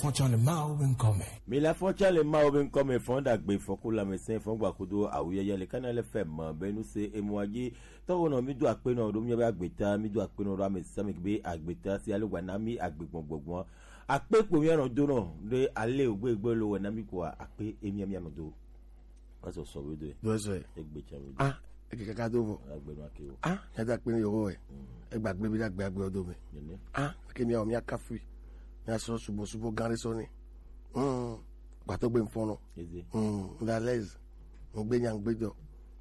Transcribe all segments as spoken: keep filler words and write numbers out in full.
Fɔntsɔ le Mawu be ŋkɔ me. Mi la fɔntsɔ le Mawu be ŋkɔ me, fɔn ɖagbe, fɔn ku lãmesẽ, fɔn gbakudo awuyɔyɔ le Kanal F M be nu se emua dzi. Tɔwo nɔ mi do akpe nɔ ɖo mi be agbeta, mi do akpe nɔ ɖo ame sia ame be agbeta si ale wa na mi agbe gbɔgbɔgbɔ. Akpe kpo mi anɔ do nɔ ɖe ale ogbe gbe lo wɔ na mi kpoa akpe emi mi anɔ do. Wa sɔ sɔ we do. Do sɔ. Egbe tsa mi. Ah, eke kaka do vɔ. Agbe ma ke o. Ah, ya da akpe ni yo we. Egba gbe bi da gbe agbe o do me. Nene. Ah, ke mi o mi aka fui. Mi asɔ subo subo gan re sɔ ni. Hmm. Gbatɔ gbe mfɔnɔ. Eze. Hmm, da lez. Mo gbe nya gbe do.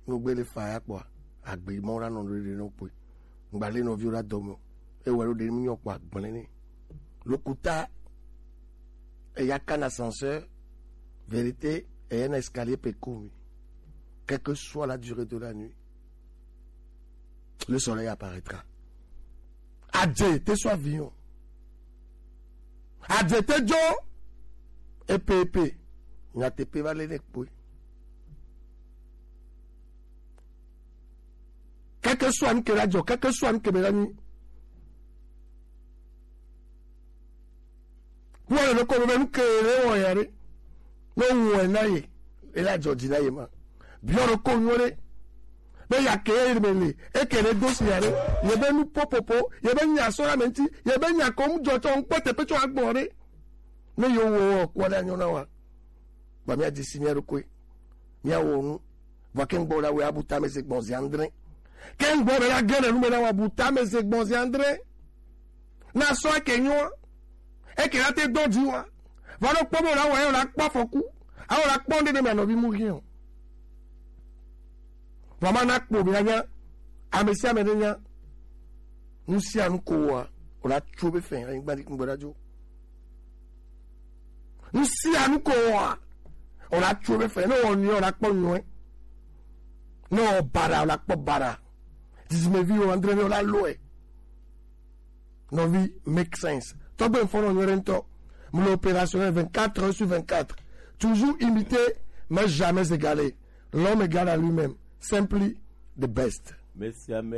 Mo gbe le fa ya kpoa. Agbe mo ra nɔ re re no pe. Ngba le no vi o ra do mo. E we ro de mi nyo kpoa gble ni. Lokuta. Eya kana ascenseur, vérité, eya na escalier pe kumi. Quelle que soit la durée de la nuit, le soleil apparaîtra. Adze te so avion. Adze te jo. Epe epe. Nya te pe va le ne kpoe. Keke sua nu ke la dzɔ, keke sua nu ke be la nyi. Kpɔ le nɔkɔ be nu ke le wɔ ya ɖe. Ne wɔe na ye, e la dzɔ dzi na ye ma. Biɔ ɖo ko nyuie ɖe. Be ya ke ye me le, e ke le do si ya ɖe. Ye be nu popopo, ye be nya sɔ la me ŋuti, ye be nya ko mu dzɔ tsɔ ŋkpɔ te pe tsɔ agbɔ ɖe. Ne yo wɔ kɔ ɖe anyɔ na wa. Ba mi adzi si mi aɖo koe. Mi awɔ nu. Vɔ ke ŋgbɔ la wɛ abu tame ze gbɔn zi andre. Ke ŋgbɔ be la gɛnɛ nu me la wa bu tame ze gbɔn zi andre. Na sɔ eke nyo. Eke la te dɔ di wa. Va ɖo kpɔ be la wɔ ye la kpɔ afɔku. Awo la kpɔ nde ne me anɔvi mu rien o. Vɔ ma na kpɔ be la nya. Ame sia ame ne nya. Nu sia nu ko wa. O la tso be fɛ. Anyigba di ŋgbɔ la dzo. Nu sia nu ko wa. O la tso be fɛ. Ne o nyɔ o la kpɔ nyɔe. Ne o bara o la kpɔ bara. Zizi me vi o andre ne o la lɔe. Nɔvi make sense. Tɔgbe mfɔnɔ nyuie ɖe ŋutɔ. Mu le opérationnel vingt-quatre heures sur vingt-quatre. Toujours imité, mais jamais égalé. L'homme égal à lui-même. Simply the best. Mesiame